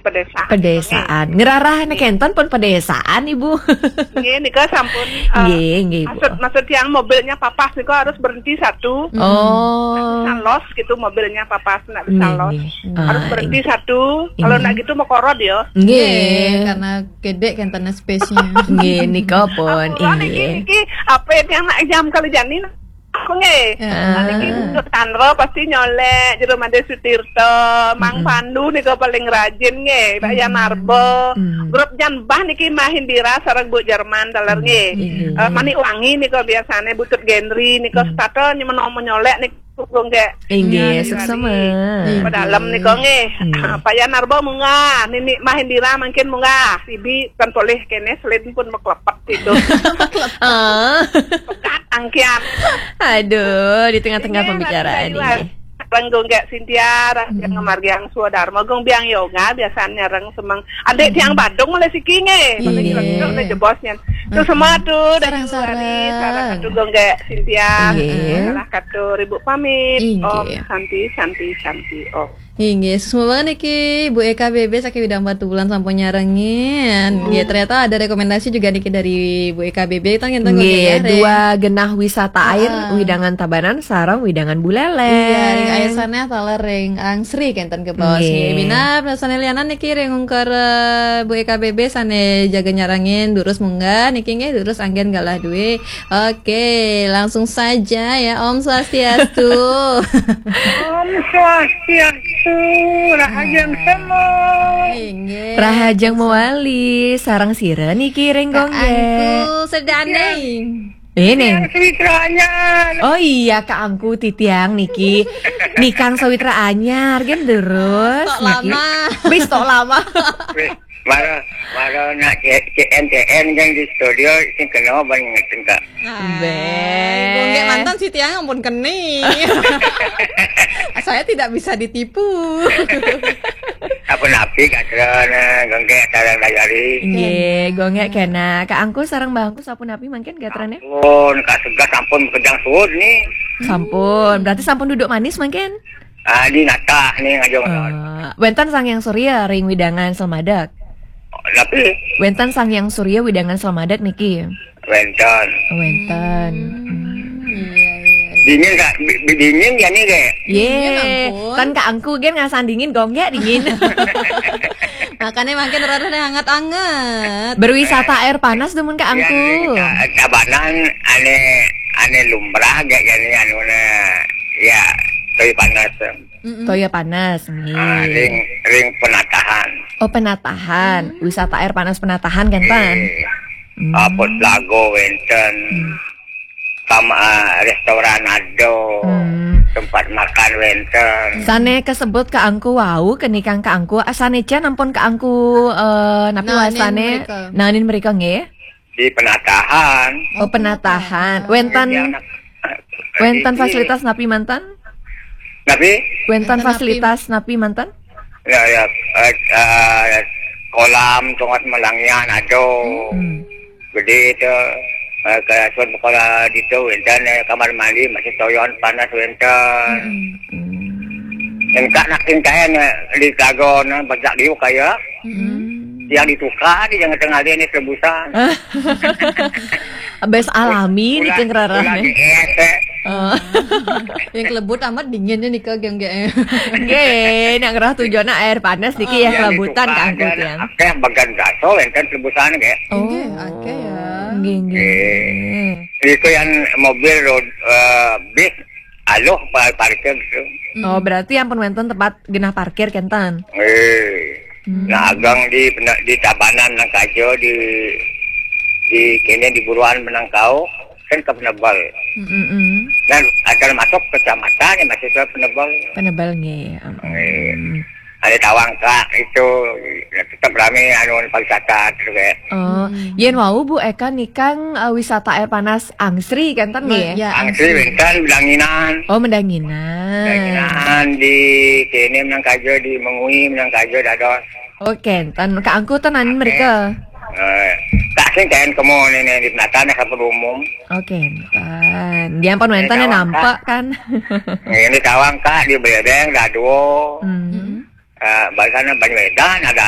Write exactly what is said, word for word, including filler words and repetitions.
Pedesaan. Pedesaan. Ngerarah nek enten pun pedesaan, Ibu. Nggih, nika sampun, eh, nggih, nggih, Bu. Maksud, maksud yang mobilnya papas nika harus berhenti satu. Oh. Nggak bisa los gitu mobilnya papas, nggak bisa los. Nggih, nggih. Harus berhenti satu. Kalau nggak gitu mau korod ya. Nggih. Nggih, karena gedek kan tanah space-nya. Nggih, nika pun. Ampun, niki, nggih. Niki apa yang nak jam kali jani? Aku nggih. Heeh. Nah, niki untuk Tanro pasti nyolek jero Made Sutirto, Mang Pandu nika paling rajin nggih, Mbak Yan Arbo. Grup Jan Bah niki Mahindira sareng Bu Jerman taler nggih. Nggih. Eh, Manik Wangi nika biasane Butut Genri nika setata nyemeno nyolek niku nggih. Inggih, suksma. Pedalem nika nggih. Pak Yan Arbo munggah, Nini Mahindira mungkin munggah, Sibi kan polih kene selin pun meklepet itu. Ah. Pekat angkian. Aduh, di tengah-tengah pembicaraan ini. Renggung gak Sintia, Raja Ngemargiang Swadarma, Gung Biang Yoga, biasanya reng semeng. Adik tiang Badung mulai siki nggih. Mulai jebosnya. Tuh semua tuh dari sarang-sarang. Sarang satu Gung gak Sintia. Nggih. Salah satu ribu pamit. Nggih. Om Santi, Santi, Santi, Om. Inggih, suksma banget niki Bu E K B B saking Widang Batubulan sampun nyarengin. Nggih, ternyata ada rekomendasi juga niki dari Bu E K B B, tang enten. Nggih, dua genah wisata air, Widangan Tabanan sareng Widangan Buleleng. Iya, ring air sana taler ring angsri kenten ke bawah. Nggih. Nggih, minab, nah, sane lianan niki ring ungkur, eh, Bu E K B B sane jaga nyarengin, durus munggah niki nggih, durus anggen galah duwe. Oke, langsung saja ya. Om Swastiastu. Om Swastiastu. Rahajeng semua. Inggih. Rahajeng mewali, sareng sira niki ring Gonggek. Angku sedane. Ini. Yang sawitra anyar. Oh iya, Kak Angku titiang niki. Nikang sawitra anyar, gen terus. Tok lama. Wis tok lama. Wis. Mara, mara nak C-, C N C N kan di studio sing kena ban ngeten, Kak. Be. Gonggek mantan si tiang ampun keni. Saya tidak bisa ditipu. Apa napi katra na Gonggek tarang dayari. Nggih, Gonggek kena. Kak Angku sareng Mbah Angku sapunapi mangkin gatrane? Sampun, Kak Segas sampun kejang suud nih. Sampun. Berarti sampun duduk manis mangkin? Ah, di natah nih ngajong. Eh, wenten Sang Hyang Surya ring Widangan Selmadeg. Tapi wenten Sang Hyang Surya Widangan Selmadeg niki. Wenten. Wenten. Hmm, iya, iya. Dingin, Kak. Bi-, bi-, dingin ya nih, Kak? Ye. Dingin, ampun. Kan Kak Angku gen ngasan dingin, Gonggek dingin. Makanya makin rada hangat-hangat. Berwisata air panas demen Kak Angku. Yang di Tabanan ane, ane lumrah gak ya nih anu na. Ya, tapi panas. Toya panas, nggih. Ah, ring, ring penatahan. Oh, penatahan. Wisata air panas penatahan kan, Pan? Nggih. Hmm. Apa lago wenten. Hmm. Sama, ah, restoran ado. Hmm. Tempat makan wenten. Sane kesebut Kak Angku wau, kenikang Kak Angku, asane jan ampun Kak Angku, eh, napi wastane? Nanin mereka. Nanin mereka nggih. Di penatahan. Oh, penatahan. Wenten, wenten fasilitas napi mantan? Napi? Wenten fasilitas napi mantan? Ya, ya, eh, eh, kolam, sungai Melangian, ado. Hmm. Gede itu, eh, ke sun sekolah di itu, wenten, eh, kamar mandi, masih toyon, panas, wenten. Hmm. Engkak nak tingkahnya di kagon, bajak diu kaya. Hmm. Yang ditukar di jangan tengah dia ni tebusan. Bes alami ni keng rarah ni. Yang kelebut amat dinginnya nih, Kak, geng-geng. Nggih, nak ngerah tujuan air panas niki ya, kelebutan Kak Angku tiang. Akeh bagan gaso wenten tebusan nggih. Oh. Nggih, akeh ya. Nggih, nggih. Itu yang mobil road, eh, bis aluh pa-, parkir gitu. Oh, berarti ampun wenten tempat genah parkir kenten. Eh. Hmm. Nah, agang di pena-, di Tabanan nang kaja di, di kene di Buruan Menangkau kan ke Penebel. Mm-mm. Dan asal masuk kecamatan ya masih ke Penebel. Penebel nggih. Nggih. Hmm. Ada tawang Kak itu tetap rame anu pariwisata terus kayak. Oh, yen wau Bu Eka nikang, eh, wisata air panas angsri kenten nggih? Ya, angsri wenten Mendanginan. Oh, Mendanginan. Mendanginan di kene menang kaja di Mengwi menang kaja dados. Oh, kenten. Kak Angku tenan mereka. Eh, tak sing kaen kemo nene di penatane sampun umum. Oh, kenten. Dia ampun wenten nampak kan. Ini tawang Kak di Bedeng Dadua. Hmm. Eh, barisan Banyu Edan ada